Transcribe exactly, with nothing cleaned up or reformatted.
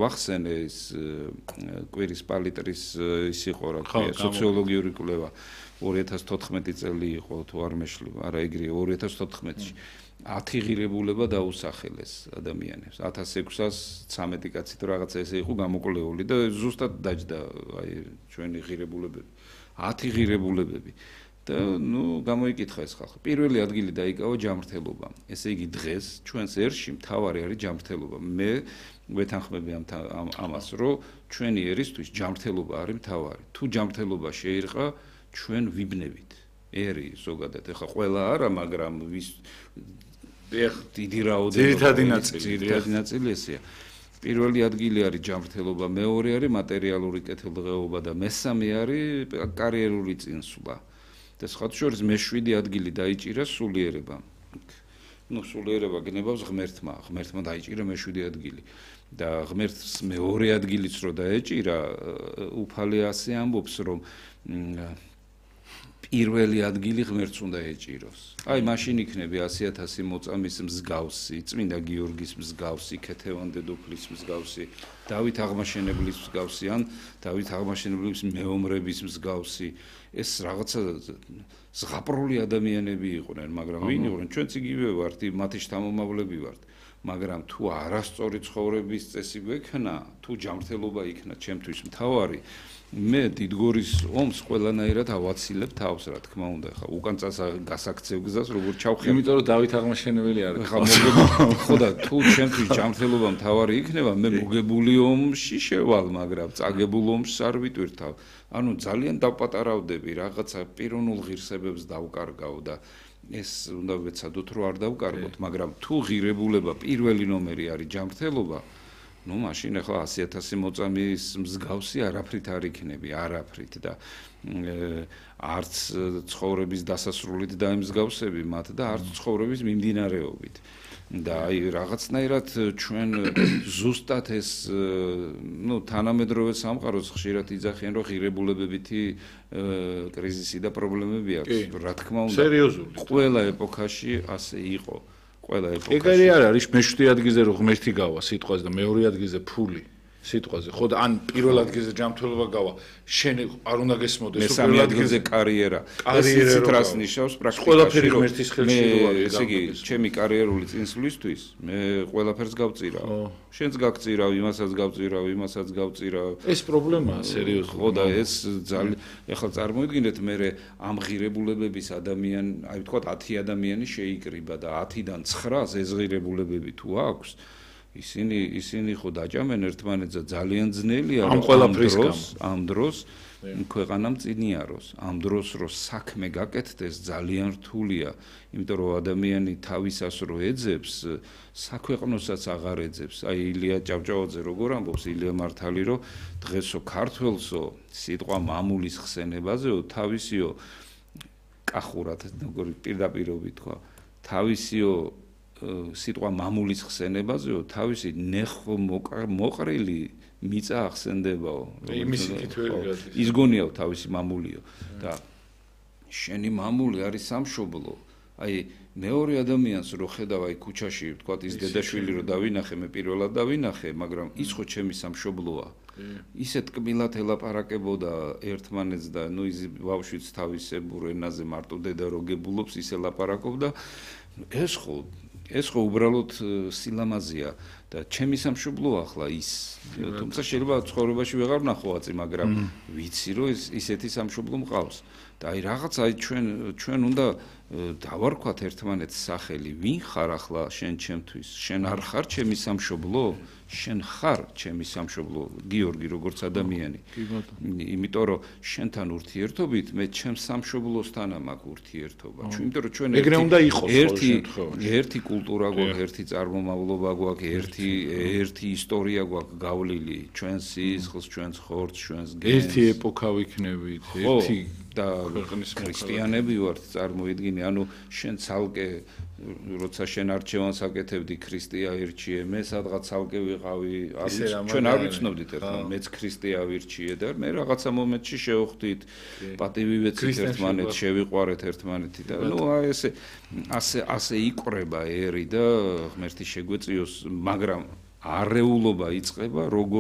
ვახსენე ის კვირის პალიტრის ის იყო რა ქვია სოციოლოგიური კვლევა ორი ათას თოთხმეტი წელი იყო თუ არ მეშლება არა ეგრე ორი ათას თოთხმეტში ათი ღირებულება დაუსახელეს ადამიანებს ათას ექვსას ცამეტი კაცი თუ რაღაცა ესე იყო გამოკვლეული და ზუსტად დაჯდა აი ჩვენი ღირებულებები ათი ღირებულებები და ნუ გამოიკითხა ეს ხალხი პირველი ადგილი დაიკავა ჯანმრთელობამ ესე იგი დღეს ჩვენს ერში მთავარი არის ჯანმრთელობა მე ვეთანხმები ამ ამას რომ ჩვენი ერისთვის ჯანმრთელობა არის მთავარი თუ ჯანმრთელობა შეირყა ჩვენ ვიბნევით ერი ზოგადად ეხა ყველა არა მაგრამ ვის ეხ დიდი რაოდენობა ძირითადი ნაწილი ძირითადი ნაწილი ესეა პირველი ადგილი არის ჯანმრთელობა მეორე არის მატერიალური კეთილდღეობა და მესამე არის კარიერული წინსვლა და სხვათა შორის მეშვიდე ადგილი დაიჭირა სულიერებამ ну სულიერება გნებავს ღმერთმა ღმერთმა დაიჭირა მეშვიდე ადგილი და ღმერთს მეორე ადგილიც რო დაეჭირა უფალი ასე ამბობს რომ პირველი ადგილი ღმერთს უნდა ეჭიროს. აი მაშინ იქნები ასი ათასი მოწამის მსგავსი, წმინდა გიორგის მსგავსი, ქეთევან დედოფლის მსგავსი, დავით აღმაშენებლის მსგავსი ან დავით აღმაშენებლის მეომრების მსგავსი. ეს რაღაცა ზღაპრული ადამიანები იყვნენ, მაგრამ ვინ იყვნენ? ჩვენც იგივე ვართ, მათი შთამომავლები ვართ. მაგრამ თუ არასწორი ცხოვრების წესი გვექნა, თუ ჯანმრთელობა იქნა ჩემთვის მთავარი მე დიდგორის ომს ყველანაირად ავაცილებ თავს რა თქმა უნდა ხა უკან წას გასაქცევ გზას როგორ ჩავხერ იმიტომ რომ დავით აღმაშენებელი არის ხა მოგებული ხო და თუ ჩემთვის ჯანმრთელობა მთავარი იქნება მე მოგებული ომში შევალ მაგრამ წაგებულ ომს არ ვიტვირთავ ანუ ძალიან დავპატარავდები რაღაცა პიროვნულ ღირსებებს დავკარგავ და ეს უნდა ვეცადოთ რომ არ დავკარგოთ მაგრამ თუ ღირებულება პირველი ნომერი არის ჯანმრთელობა ну машин ახლა ასი ათასი მოწამის მსგავსი არაფრით არ იქნები არაფრით და არც ცხოვრების დასასრულით დაემსგავსები მათ და არც ცხოვრების მიმდინარეობით და აი რაღაცნაირად ჩვენ ზუსტად ეს ну თანამედროვე სამყაროს ხშირად იძახიან რომ ღირებულებებითი კრიზისი და პრობლემები აქვს რა თქმა უნდა სერიოზული ყველა ეპოქაში ასე იყო ყველა ეპოქაში. ეგარი არ არის მეშვიდე ადგილზე რომ ღმერთი გავა სიტყვაზე და მეორე ადგილზე ფული სიტყვაზე. ხო და ან პირველ ადგილზე ჯანმრთელობა გავა. შენ არ უნდა გესმოდეს მესამე ადგილზე კარიერა. კარიერა რას ნიშნავს პრაქტიკაში? ყველაფერი ღმერთის ხელში როა. ესე იგი, ჩემი კარიერული წინსვლისთვის მე ყველაფერს გავწირავ. შენც გაგწირავ, იმასაც გავწირავ, იმასაც გავწირავ. ეს პრობლემაა სერიოზული. ხო და ეს ძალიან ეხლა წარმოიდგინეთ მე ამ ღირებულებების ადამიანი, აი ვთქვათ ათი ადამიანი შეიკრიბა და ათიდან ცხრას ეს ღირებულებები თუ აქვს ისინი ისინი ხო დაჭამენ ერთმანეთს ძალიან ძნელია ამ ყველაფრის დროს ამ დროს ქვეყანამ წინიაროს ამ დროს რო საქმე გაკეთდეს ძალიან რთულია იმიტომ რომ ადამიანი თავისას რო ეძებს საქვეყნოსაც აღარ ეძებს აი ილია ჭავჭავაძე როგორ ამბობს ილია მართალი რომ დღესო ქართველსო სიტყვა მამულის ხსენებაზეო თავისიო კახურად როგორი პირდაპირობით თქვა თავისიო სიტყვა მამულის ხსენებაზეო თავისი ნეხო მოყრილი მიწა ახსენდებაო იმის კითხვები ის გონიაო თავისი მამულიო და შენი მამული არის სამშობლო აი მეორე ადამიანს რო ხედავ აი ქუჩაში ვთქვათ ის დედაშვილი რო დავინახე მე პირველად დავინახე მაგრამ ის ხო ჩემი სამშობლოა ისე ტკბილად ელაპარაკებოდა ერთმანეთს და ნუ ის ბავშვიც თავისებურ ენაზე მარტო დედა რო გებულობს ისე ლაპარაკობდა ეს ხო ეს ხო უბრალოდ სილამაზეა და ჩემი სამშობლო ახლა ის თუმცა შეიძლება ცხოვრებაში ვეღარ ვნახო აწი მაგრამ ვიცი რომ ეს ისეთი სამშობლო მყავს და აი რაღაც აი ჩვენ ჩვენ უნდა დავარქვათ ერთმანეთს სახელი ვინ ხარ ახლა შენ ჩემთვის შენ არ ხარ ჩემი სამშობლო შენ ხარ ჩემი სამშობლო გიორგი როგორც ადამიანი იმიტომ რომ შენთან ურთიერთობით მე ჩემს სამშობლოსთან მაქვს ურთიერთობა იმიტომ რომ ჩვენ ეგრე უნდა იყოს ერთი ერთი კულტურა გვაქვს ერთი წარმომავლობა გვაქვს ერთი ერთი ისტორია გვაქვს გავლილი ჩვენს სისხლს ჩვენს ხორცს ჩვენს გენს ერთი ეპოქა ვიქნებით ერთი და ქრისტიანები ვართ წარმოიდგინე ანუ შენ ცალკე როცა შენ არჩევანს აკეთებდი ქრისტია ირჩიე მე სადღაც ცალკე ვიყავი ჩვენ არ ვიცნობდით ერთმანეთს მეც ქრისტია ვირჩიე და მე რაღაცა მომენტში შევხვდით პატივი ვეცით ერთმანეთს შევიყვარეთ ერთმანეთი და ნუ აი ესე ასე ასე იყრება ერი და ღმერთი შეგვეწიოს მაგრამ არეულობა იწყება